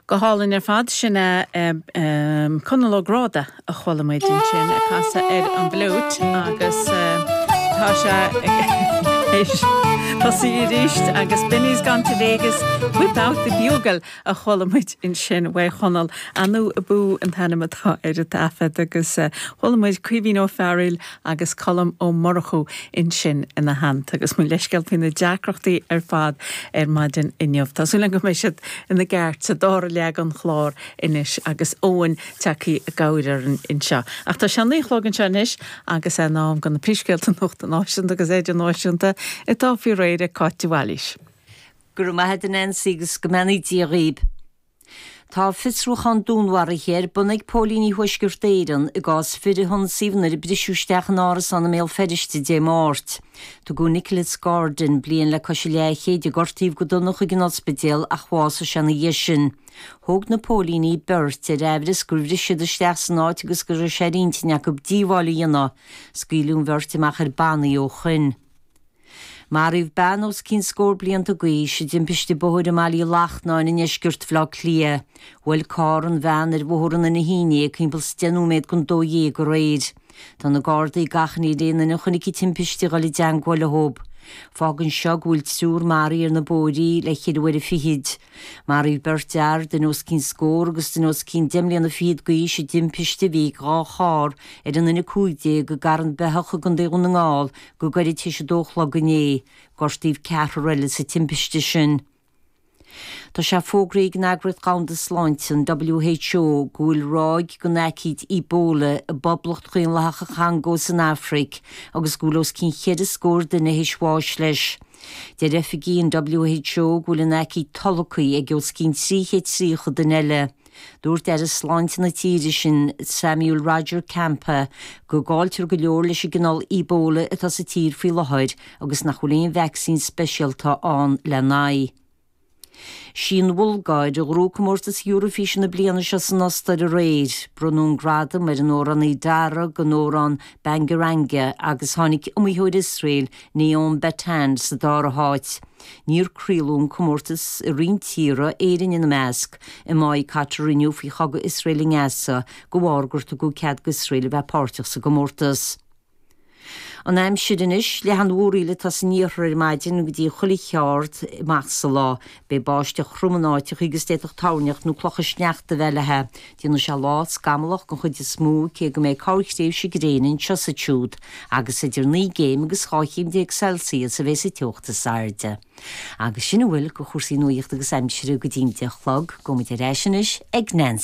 Go hálainn ar fad, sin é Conall Ó Gráda a chuala muid ansin ag casadh ar an bhfliúit agus tá sé théis tosaí arís agus Benny's Gone to Vegas, Whip Out the Bugle a chuala muid ansin uaidh Chonall. Anu Abú an t-ainm atá ar an taifead agus chuala muid Caoimhín Ó Fearghail agus Colm Ó Murchú ansin ina theannta agus mo leithscéal faoi na deacrachtaí ar fad ar maidin inniu. Tá súil agam go mbeidh siad ina gceart sa dara leath den chlár anois agus Eoin tagtha i gcabhair orainn anseo. Ach tá sé a naoi a chlog anseo anois agus é in am do na príomhscéalta nuachta náisiúnta agus idirnáisiúnta atá faoi réir ag Cáit de Bhailís. Go raibh maith agat a Nancy agus go mbeannaí Dia dhaoib. Tá fiosrúchán dúnmharaithe ar bun ag póilíní Thuaisceart Éireann i gcás fir a hionsaíodh nuair a briseadh isteach in árasán i mBéal Feirste Dé Máirt. Tugadh Nicholas Gordon, bliain le cois a leathchéid, a gortaíodh go dona chuig an ospidéal ach bhásaigh sé ina dhiaidh sin. Thóg na póilíní beirt ar aimhreas gur bhris siad isteach san áit agus go raibh sé ar intinn acu díobháil a dhéanamh. Scaoileadh an bheirt amach ar bannaí ó shoin. Maraíodh bean os cionn scór blianta d'aois i dtimpiste bóthair i mBaile Uí Lachnáin i ndeisceart Bhaile Átha Cliath. Bhuail carr an bhean ar Bhóthar an Innis Fhínné ag timpeall is deich nóiméad don 12 aréir. Tá na Gardaí ag achainí ar aon duine a chonaic an timpiste a dhul i dteangmháil leo. Fágann seo go bhfuil triúr maraithe ar na bóithrí le ceithre uaire fichid. Maraíodh beirt fhear, duine os cionn scór agus duine os cionn deich mbliana fichead d'aois i dtimpiste a bhí ag 2 charr ar an N15 i gCarn Beitheach i gContae Dhún na nGall go gairid tar éis a dó a chlog inné. Gortaíodh ceathrar eile sa timpiste sin. Tá sé fógraithe ag an Eagraíocht Dhomhanda Sláinte, an WHO, go bhfuil ráig den aicíd Ebola i bPoblacht Dhaonlathach an Chongó san Afraic agus go bhfuil os cionn cheithre scór duine théis bháis leis. Deir oifigigh an WHO go bhfuil an aicíd tolgtha ag os cionn 330 duine eile. Dúirt Aire Sláinte na tíre sin, Samuel Roger Kamba, go gcailltear go leor leis an gcineál Ebola atá sa tír faoi láthair agus nach bhfuil aon vacsaín speisialta ann lena aghaidh. Sí an Bhulgáir a ghnóthaigh comórtas Eurofíse na bliana seo san Ostair aréir. Bronnadh an gradam ar an amhránaí Darag don amhrán Bangaranga agus tháinig iomaitheoir Iosrael, Noam Bettan, sa dara háit. Níor craoladh an comórtas i roinnt tíortha, Éirinn ina measc, i Maigh Catar inniu faoi chogadh Iosrael i nGaza de bharr gur tugadh cead d'Iosrael a bheith páirteach sa gcomórtas. An aimsir anois, leath an mhúraíl atá san iarthar ar maidin go dtí chuile cheard amach sa lá. Beidh báisteach throm in áiteacha agus d'fhéadfadh toirneach nó clocha sneachta a bheith léi. Déanfaidh sé lá scamallach den chuid is mó cé go mbeidh corrthréimhse gréine anseo is ansiúd agus idir 9 gcéim agus 12 chéim Celsius a bheidh sa teocht is airde. Agus sin a bhfuil de chúrsaí nuachta agus aimsire go dtí'n 10 a chlog. Gabhfaidh muid ar ais anois ag Nancy.